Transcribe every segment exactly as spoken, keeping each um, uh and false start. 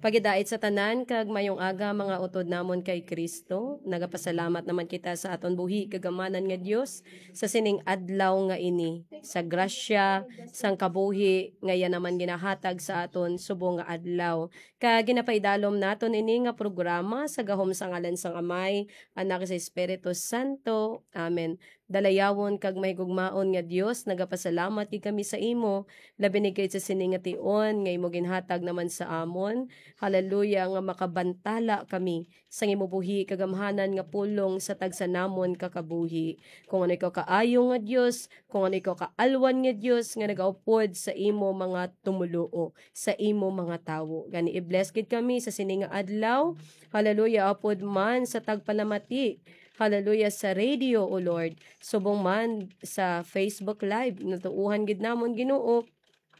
Pagidait sa tanan kag mayong aga, mga utod namon kay Kristo. Nagapasalamat naman kita sa aton buhi kag amanan nga Dios sa sining adlaw nga ini, sa grasya sang kabuhi nga iya naman ginahatag sa aton subong nga adlaw. Kag ginapaidalom naton ini nga programa sa gahom sa ngalan sang Amay, Anak, sa Espiritu Santo. Amen. Dalayawon kag mahigugmaon nga Dios, nagapasalamat gid kami sa imo, labi na gid sa sini nga tion nga imo ginhatag naman sa amon. Hallelujah, nga makabantala kami sang imo buhi kag gamhanan nga pulong sa tagsa namon ka kabuhi. Kung ano ikaw kaayo nga Dios, kung ano ikaw kaalwan nga Dios nga nagaupod sa imo mga tumuluo, sa imo mga tawo. Gani i-bless gid kami sa sini nga adlaw. Hallelujah, upod man sa tagpalamati. Hallelujah, sa radio, O Lord. Subong man sa Facebook Live, natuohan gid namon, Ginoo,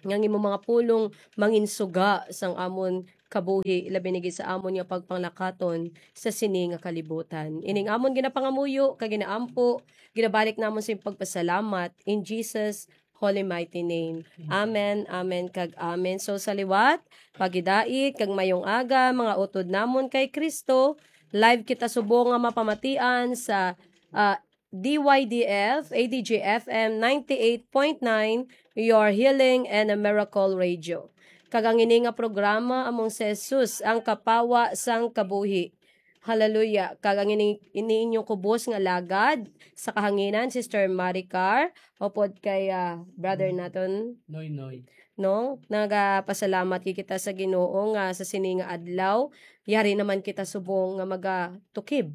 nga ang imo mga pulong manginsuga sang amon kabuhi, labi na gid sa amon nga pagpanglakaton sa sini nga kalibutan. Ining amon ginapangamuyo kag ginaampo, ginabalik namon sa pagpasalamat in Jesus' holy mighty name. Amen, amen, kag amen. So sa liwat, pagidait kag mayong aga, mga utod namon kay Kristo. Live kita subong nga mapamatian sa, ah, D Y D F, A D G F M ninety-eight point nine, Your Healing and a Miracle Radio. Kag ang ini nga programa among si Jesus, ang kapawa sang kabuhi. Hallelujah. Kag ang ini, ini inyong kubos nga lagad sa kahanginan, Sister Maricar, upod kay, ah, brother naton, Noy, Noy. No? Nagapasalamat gid kita sa Ginoo nga sa sini nga adlaw, yari naman kita subong nga magatukib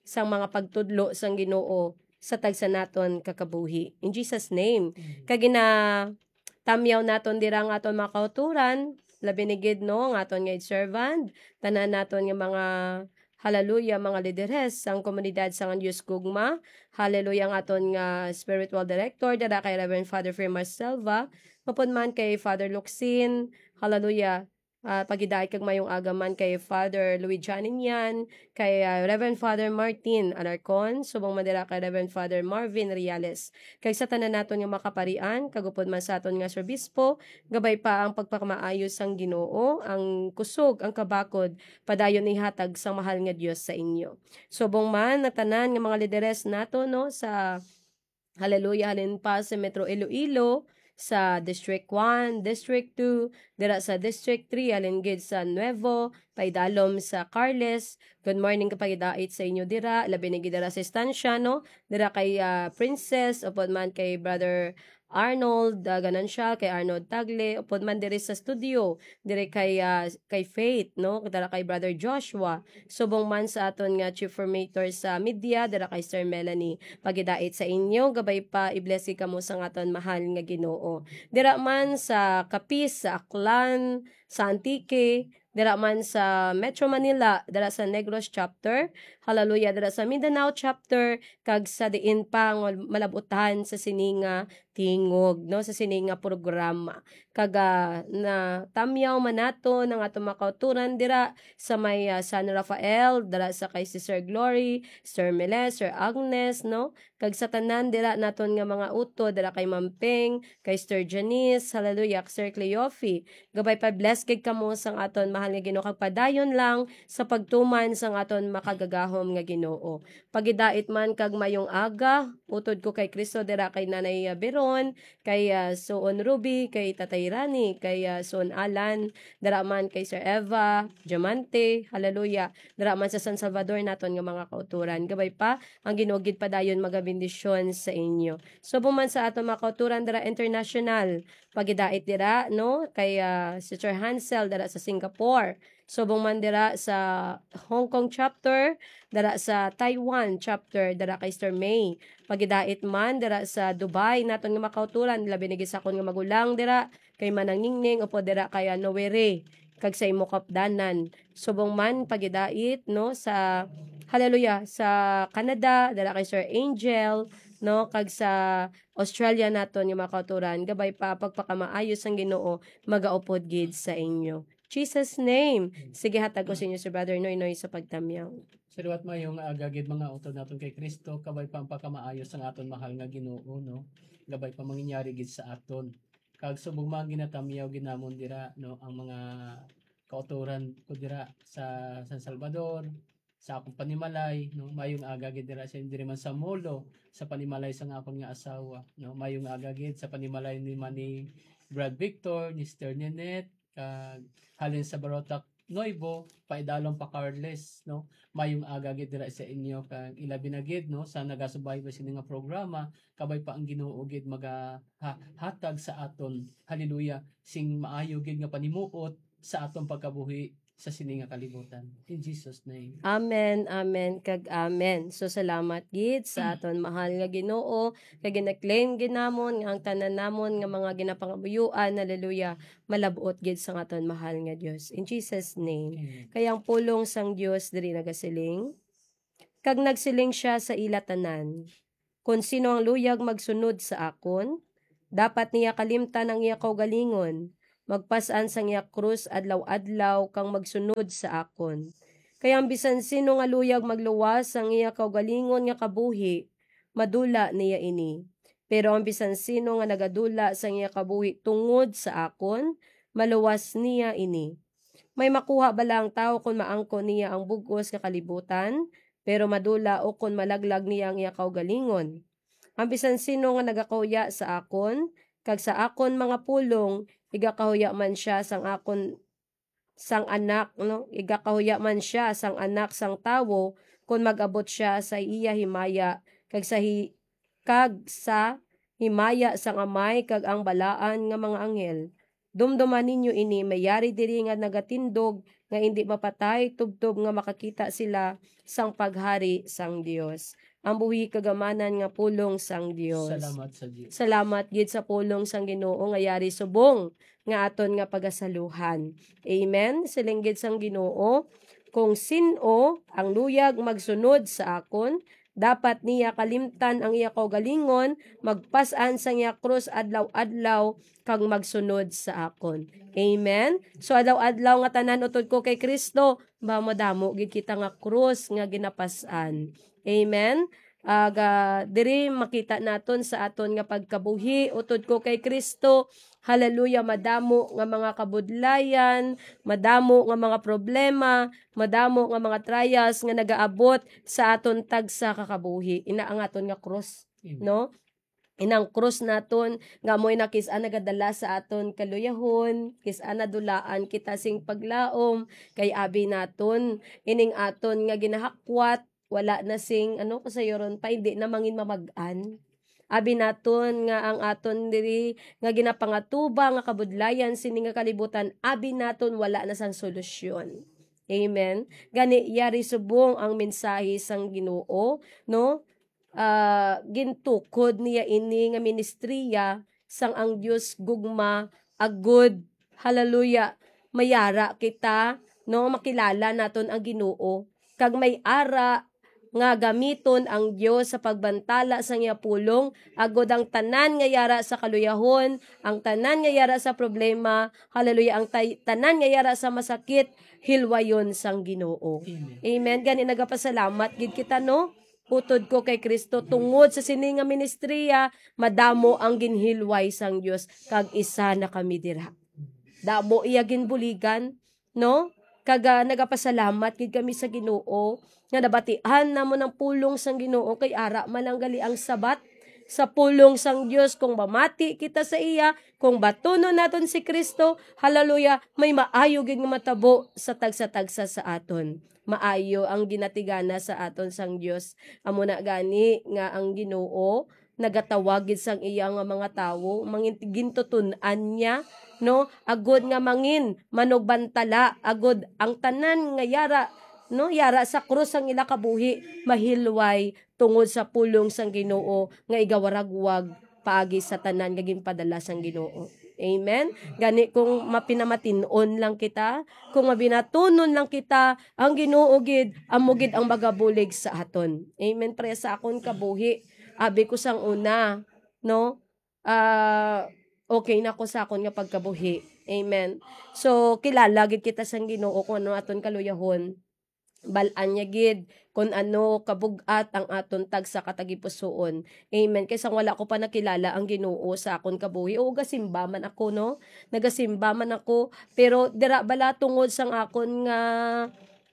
sang mga pagtudlo sang Ginoo sa tagsa naton ka kabuhi. In Jesus' name. Amen. Kag ginatamyaw naton dira ang aton mga kauturan, labi ni gid, no, ang aton nga servant, tanan naton nga mga, hallelujah, mga lideres sang komunidad sang Dios Gugma. Hallelujah, ang aton nga spiritual director, dira kay Reverend Father Firmas Selva, upod man kay Father Luxin, hallelujah, ah, pagidait kag mayong aga man kay Father Louis Janinian, kay, ah, Reverend Father Martin Alarcon, subong man dira kay Reverend Father Marvin Reales. Kag sa tanan naton nga mga kaparian, kag upod man sa aton nga serbispo, gabay pa ang pagpakamaayo sang Ginoo, ang kusog, ang kabakod, padayon ihatag sang mahal nga Dios sa inyo. Subong man ang tanan nga mga lideres nato, no, sa Hallelujah, halin pa sa Metro Iloilo, sa District one, District two, dira sa District three, halin gid sa Nuevo, paidalom sa Carles. Good morning, kapagidait sa inyo dira, labi na gid dira sa estansya, no? Dira kay, ah, Princess, upod man kay Brother Arnold, ah, Ganancial, kay Arnold Tagle, upod man diri sa studio, diri kay, ah, kay Faith, no? Dira kay Brother Joshua, subong man sa aton nga chief formator sa media, dira kay Sir Melanie. Pagidait sa inyo, gabay pa, i-bless gid kamo sang aton mahal nga Ginoo. Dira man sa Capiz, sa Aklan, sa Antique, dira man sa Metro Manila, dira sa Negros chapter, hallelujah, dira sa Mindanao chapter, kag sa diin pa nga malab-utan sa sini nga tingog, no, sa sini nga programa. Kag, ah, natamyaw man naton ang aton mga kauturan dira sa may, ah, San Rafael, dira sa kay Sister Glory, Sir Mele, Sir Agnes, no? Kag sa tanan dira naton nga mga utod, dira kay Ma'am Ping, kay Sister Janice, hallelujah, Sir Cleofe. Gabay pa, bless gid kamo sang aton mahal nga Ginoo, kag padayon lang sa pagtuman sang aton makagagahom nga Ginoo. Pagidait man kag mayong aga, utod ko kay Kristo, dira kay Nanay, ah, Beron, kay, ah, Suon Ruby, kay Tatay Rani, kay, ah, Suon Alan, dira man kay Sir Eva, Diamante, hallelujah, dira man sa San Salvador naton nga mga kauturan. Gabay pa, ang Ginoo gid padayon magabendisyon sa inyo. Subong man sa aton mga kauturan dira international, pagidait dira, no, kay, ah, Sister Hansel dira sa Singapore. Subong man dira sa Hong Kong chapter, dira sa Taiwan chapter, dira kay Sister May. Pagidait man dira sa Dubai, naton nga mga kauturan, labi na gid sa akon nga magulang dira, kay Manang Ningning, upod dira kay, ah, Noere, kag sa imo kapdanan. Subong man, pagidait, no, sa, hallelujah, sa Canada, dira kay Sir Angel, no, kag sa Australia naton nga mga kauturan, gabay pa pagpakamaayo sang Ginoo magaupod gid sa inyo. Jesus' name. Sige, hatag ko sa inyo si Brother Noynoy sa pagtamyaw. Sa liwat, maayong aga gid, mga utod naton kay Kristo, kabay pa ang pagkamaayo sang aton mahal nga Ginoo, no? Gabay pa manginyari gid sa aton. Kag subong man ginatamyaw gid namon dira, no, ang mga kautoran ko dira sa San Salvador, sa akong panimalay, no? Mayong aga gid dira sa, diri man sa Molo, sa panimalay sang akon nga asawa, no? Mayong aga gid sa panimalay ni man ni Brad Victor, ni Sister Ninette, kag halin sa Barotac Nuevo, paidalom pa Carles, no? Mayong aga gid dira sa inyo, kag ilabi na gid, no, sa nagasubaybay sini nga programa, kabay pa ang Ginoo gid magaha-, hatag sa aton, hallelujah, sing maayo gid nga panimuot sa aton pagkabuhi sa sini nga kalibutan. In Jesus' name. Amen, amen, kag amen. So, salamat gid sa aton mahal nga Ginoo, kag gina-claim gid namon nga ang tanan namon nga mga ginapangamuyoan, hallelujah, malab-ot gid sang aton mahal nga Dios. In Jesus' name. Amen. Kay ang pulong sang Dios diri nagasiling, kag nagsiling sia sa ila tanan, "Kon sino ang luyag magsunod sa akon, dapat niya kalimtan ang iya kaugalingon, magpas-an sang iya krus adlaw-adlaw, kag magsunod sa akon. Kay ang bisan sino nga luyag magluwas sang iya kaugalingon nga kabuhi, madula niya ini. Pero ang bisan sino nga nagadula sang iya kabuhi tungod sa akon, maluwas niya ini. May makuha bala ang tawo kon maangkon niya ang bug-os nga kalibutan, pero madula ukon malaglag niya ang iya kaugalingon? Ang bisan sino nga nagakahuya sa akon, kag sa akon mga pulong, igakahuya man sia sang akon, sang Anak, no? Igakahuya man sia sang Anak sang Tawo, kon mag-abot sia sa iya himaya, kag sa hi-, kag sa himaya sang Amay kag ang balaan nga mga anghel. Dumduma ninyo ini, may yari diri nga nagatindog nga indi mapatay, tubtob nga makakita sila sang paghari sang Dios." Ang buhi kag amanan nga pulong sang Dios. Salamat sa Dios. Salamat gid sa pulong sang Ginoo nga yari subong nga aton nga pagasaluhan. Amen. Siling gid sang Ginoo, "Kung sin-o ang luyag magsunod sa akon, dapat niya kalimtan ang iya kaugalingon, magpas-an sang iya krus adlaw-adlaw, kag magsunod sa akon." Amen. So, adlaw-adlaw nga tanan utod ko kay Cristo, ba, madamo gid kita nga krus nga ginapas-an. Amen. Aga, diri makita naton sa aton nga pagkabuhi utod ko kay Cristo. Hallelujah, madamo nga mga kabudlayan, madamo nga mga problema, madamo nga mga trials nga nagaabot sa aton tagsa ka kabuhi. Ina ang aton nga krus, Amen. no? Inang krus naton nga amoy na kis-a nagadala sa aton kaluyahon, kis-a nadulaan kita sing paglaom, kay abi naton ining aton nga ginahakwat wala na sing, ano, kasayuron pa, hindi na mangin mamag-an. Abi naton nga ang aton diri nga ginapangatuba nga kabudlayan sini nga kalibutan, abi naton wala na sang solusyon. Amen. Gani, yari subong ang mensahe sang Ginoo, no? Ah, gintukod niya ini nga ministriya sang ang Dios gugma, agud, hallelujah, mayara kita, no? Makilala naton ang Ginoo, kag may ara nga gamiton ang Dios sa pagbantala sang iya pulong, agud ang tanan nga yara sa kaluyahon, ang tanan nga yara sa problema, hallelujah, ang tay-, tanan nga yara sa masakit, hilwayon sang Ginoo. Amen. Amen. Gani nagapasalamat gid kita, no? Utod ko kay Cristo, tungod sa sini nga ministriya, madamo ang ginhilway sang Dios, kag isa na kami dira. Damo iya ginbuligan, no? Kag, ah, nagapasalamat gid kami sa Ginoo nga nabatian namon ang pulong sang Ginoo, kay ara man lang gali ang sabat sa pulong sang Dios. Kung mamati kita sa iya, kung batunon naton si Cristo, hallelujah, may maayo gid nga matabo sa tagsa-tagsa sa aton. Maayo ang ginatigana sa aton sang Dios. Amo na gani nga ang Ginoo nagatawag gid sang iya nga mga tawo, mangin-, gintutun-an niya, no? Agud nga mangin manugbantala, agud ang tanan nga yara, no, yara sa krus sang ila kabuhi, mahilway tungod sa pulong sang Ginoo nga igawaragwag paagi sa tanan nga ginpadala sang Ginoo. Amen. Gani, kung mapinamatin-on lang kita, kung mabinatunon lang kita, ang Ginoo gid, amo gid ang magabulig sa aton. Amen. Pre, sa akon kabuhi, abi ko sang una, no? Ah, okay na ko sa akon nga pagkabuhi. Amen. So, kilala gid kita sang Ginoo kung ano aton kaluyahon. bal-an niya gid kun ano kabug-at ang aton tagsa ka tagipusoon. Amen. Kay sang wala ko pa nakilala ang Ginoo sa akon kabuhi, o gasimba man ako, no? Nagasimba man ako, pero dira bala tungod sang akon nga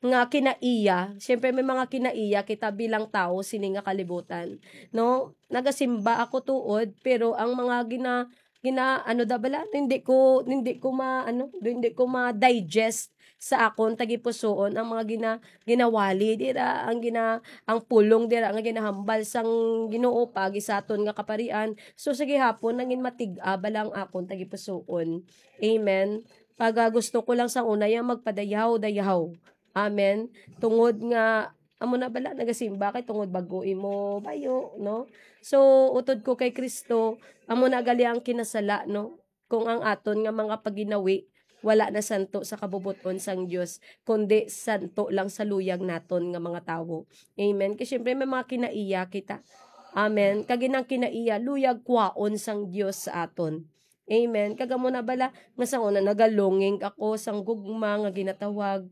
nga kinaiya. Siyempre, may mga kinaiya kita bilang tawo sini nga kalibutan, no? Nagasimba ako tuod, pero ang mga gina-, gina-, ano da bala, hindi ko, hindi ko ma-, ano, hindi ko ma-digest sa akon tagipusoon ang mga gina-, ginawali dira, ang gina-, ang pulong dira nga ginahambal sang Ginoo paagi sa aton nga kaparian. So, sa gihapon, nangin matig-a bala ang akon tagipusoon. Amen. Pag, ah, gusto ko lang sa una, yang magpadayaw-dayaw. Amen. Tungod nga, amo na bala, nagasimba kay tungod bago imo bayo, no? So, utod ko kay Kristo, amo na gali ang kinasala, no? Kung ang aton nga mga paginawi, wala na santo sa kabubot-on sang Dios, kundi santo lang sa luyag naton nga mga tawo. Amen. Kay siyempre, may mga kinaiya kita. Amen. Kag inang kinaiya, luyag kwaon sang Dios sa aton. Amen. Kag amo na bala, nga sa una nagalonging ako sang gugma nga ginatawag